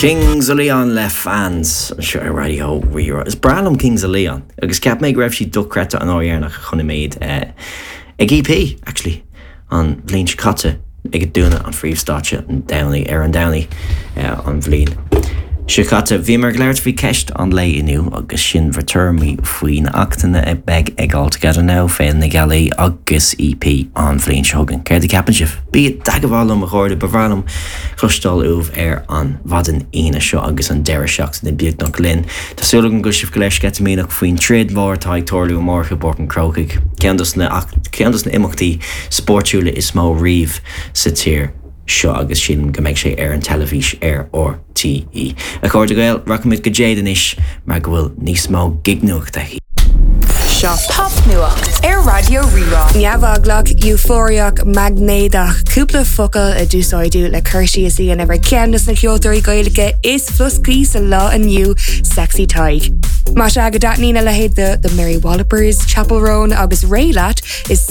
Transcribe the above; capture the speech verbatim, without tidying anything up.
Kings of Leon le Fans anseo ar Raidió Rí-Rá. Is breá liom Kings of Leon agus cheap mé go raibh siad dochreidte an uair dheireanach a chonaic mé iad eh, ag EP actually an bhliain seo caite ag dúnadh an phríomhstáitse an Domhnach ar an Domhnach eh, an bhliain. Seo caite bhíomar ag labhairt faoi cheist an lae inniu agus sin bhur dtuairimí faoi na hachtanna a bheidh ag All Together Now Féile na Gealaí agus EP an bhliain seo chugainn. Céard a cheapann sibh? Bí i dteagmháil liom a chairde ba bhreá liom cloisteáil uaibh ar an mhaidin Aoine seo agus an deireadh seachtaine beagnach linn. Tá súil agam go bhfuil sibh go léir sceitimíneach faoin troid mhór atá ag tarlú amárach i bPáirc an Chrócaigh. Ceann dos na ceann dos na imeachtaí spórtúla is mó riamh sa tír seo agus sin go mbeidh sé ar an teilifís ar RTÉ. A chairde Gael rachaimid go Jade anois mar go bhfuil níos mó gignuachta. Seo popnuacht ar Raidió Rí-Rá. Neamheaglach, eufóriach, maighnéadach, cúpla focal a d'úsáideadh le cur síos a dhéanamh ar cheann de na ceoltóirí Gaeilge is floscaí sa lá inniu Sexy Tadhg. Más ea go dtaitníonn a leithéid de the Mary Wallopers, Chappell Roan agus Ré leat is